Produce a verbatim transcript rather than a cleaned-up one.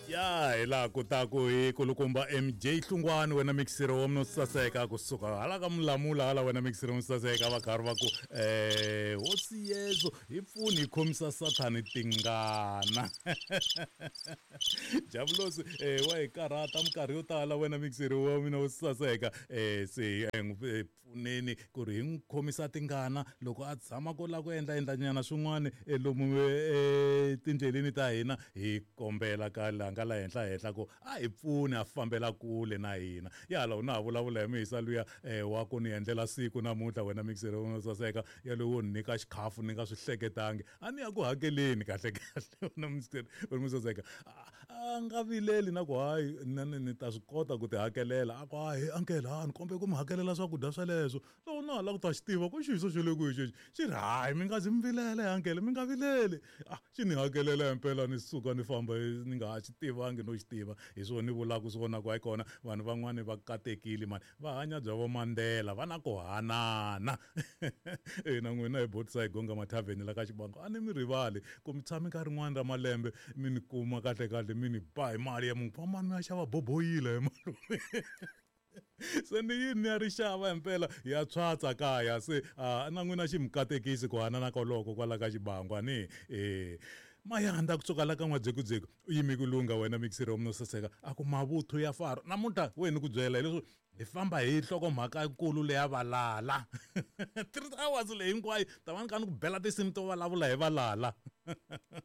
Ya hi laha kutaku hi kulukumba M J Hlungwani, wena mixer wa mina saseka, kusuka hala ka Mulamula hala, wena mixer wa saseka, va karhi va ku eh hosi Yesu hi pfuni hi khomisa Sathani tingana. Javulosi eh wa hi karhata minkarhi yo tala, wena mixer wa mina wo saseka. eh se hi n'wi pfuneni ku ri hi n'wi khomisa tingana loko a tshama ko lava ku endla endla nyana swin'wana lomu etindleleni ta hina. Hi kombela ka la nga la henhla henhla ku a hi pfuni a fambela kule na hina. Ya hala u na ha vulavula hi mihisa luya eh, wa ku ni endlela siku namuntlha, wena mixer wo saseka, yalowo ni nyika xikhafu ni nga swi hleketangi, a ni ya ku hakeleni kahle kahle, wena mixer wo saseka. A nga vileli na ku hayi na ni ni ta swi kota ku ti hakelela. A ku hayi uncle, ha ni kombe ku mi hakelela swakudya sweleswo. Loko na ha lava ku ta xi tiva ku xiso xo le kwihi xexi, xi ri hayi, mi nga zi mi vilela, uncle, mi nga vileli. Ah, xi ni hakelela himpela, ni suka ni famba ni nga ha xi tivangi no xi tiva. Hi swona ni vulaka swona ku hayi kona vanhu van'wani va katekile mani, va hanya bya vo Mandela, va na ku hanana. E na n'wina hi botisa hi gonga mathavheni la ka Xibango, a ni mi rivali ku mi tshami nkarhi rin'wani ra malembe mi ni kuma kahle kahle, mi ni ba hi mali ya munhu, fambani mi ya xava boboyila hi malume. Se ni yini ni ya ri xava himpela ya tshwatsa kaya. Se uh, na n'wina xi mi katekisi ku hanana koloko kwala ka Xibangu. Ani eh mayanda kusuka la ka N'wadzekudzeku u yimi ku lungha, wena mixer wa mina saseka, a ku mavuthu ya Faro namuntlha wena ku byela hileswo hi famba hi nhlokomhaka nkulu leya valala. Three hours leyi hinkwayo ta va ni kha ni ku bela tinsimu to vulavula hi valala.